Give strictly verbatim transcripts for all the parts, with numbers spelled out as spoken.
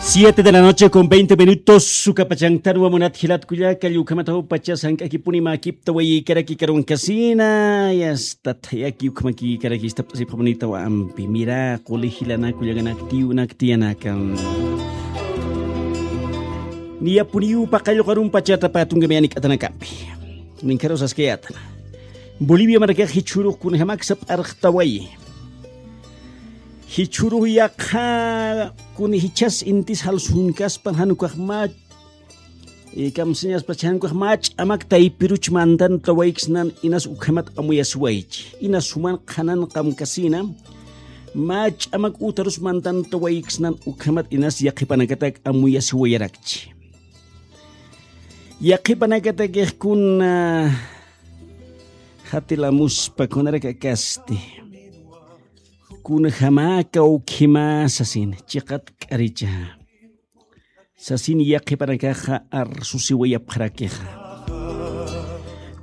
Siete de la noche con veinte minutos, sukapachantan wamunat jilat kullaka, llukhamataw pacha sank'akipuni makipta wayïkaraki karunkasina, yasta thayaki ukhamakïkaraki istapt'asipxamunitaw ampi, mira, quli jilana kullakanaktiw naktiyanaka. Niyapuniw paqallqarun pachata patunkamiyani k'atanakampi. Ninkharuw saskayätana. Bolivia markax jichhürux kunjamaksap arxtawayi. Jichhürux yaqha kun jichhas intis jalsunkaspan jan ukax mä, eh, kamsiñaspa chay jan ukax mä ch'amak taypiruch mantan tawayksnan inas ukhamat amuyasiwaychi. Inas suman qhanan qamkasina, mä ch'amak utarus mantan tawayksnan ukhamat inas yaqhipanakatak amuyasiwayarakchi. Yaqhipanakat kun, ah, jatilamuspa kunarak akasti. Kunjama kawkhima sasin, chiqat k'aricha. Sasin yaqhipanakaxa arsusiwayapxarakixa.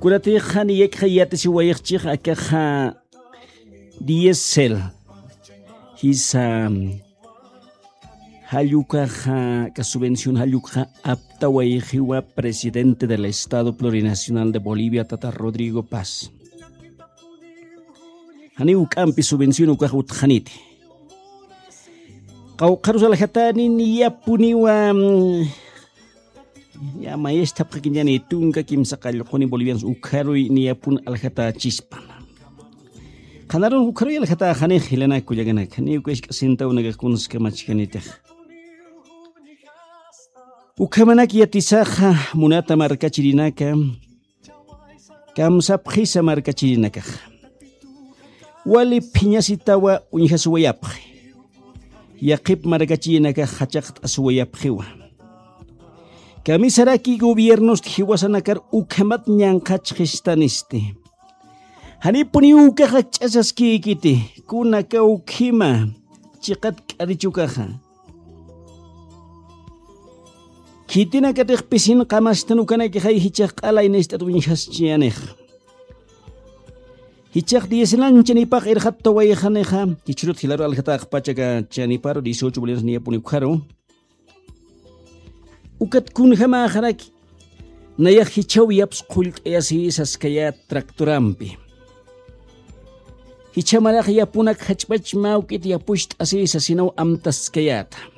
Kunatixa niyakxa yatisiwayxchix akaxa diésel. Jisa, jall ukaxa, aka subvención jall ukaxa aptawayxiwa presidente del Estado Plurinacional de Bolivia, tata Rodrigo Paz. Janiw juk'ampi subvención ukax utxaniti. Qawqharus aljatani niyapuniwa, mm, ya mayistapxakiñani tunka kimsa qallquni bolivianos ukharuy niyapun aljatächispan. Qhanarun ukharuy aljatäxanix jilanak kullakanaka, niw kashk'asintaw nakax kunskamachkanitix. Ukhamanak yatisaxa munata markachirinaka, kamsapxisa markachirinakaxa. Wali phiñasitawa uñjasiwayapxi. Yaqhip markachirinakax jachaqt'asiwayapxiwa. Kamisaraki gobiernost jiwasanakar ukhamat ñanqhachxistanisti. Janipuniw ukax akch'asaskïkiti, kuna kawkhima, chiqat k'arich ukaxa. Khitinakatix pisin qamastan ukanakixay jichhax q'alay nist'at uñjaschiyanixa. Jichhax diez años chanipax irxattawayxanixa, jichhürut jilaru aljataxpacha aka chaniparu dieciocho bolivianos niyapuni ukharu. Ukat kunjamäxaraki, nayax jichhaw yaps qhullt'ayasï saskayät tractorampi. Jichha marax yapunak jach'pach mä juk'it yapucht'asï sasinaw amtaskayäta.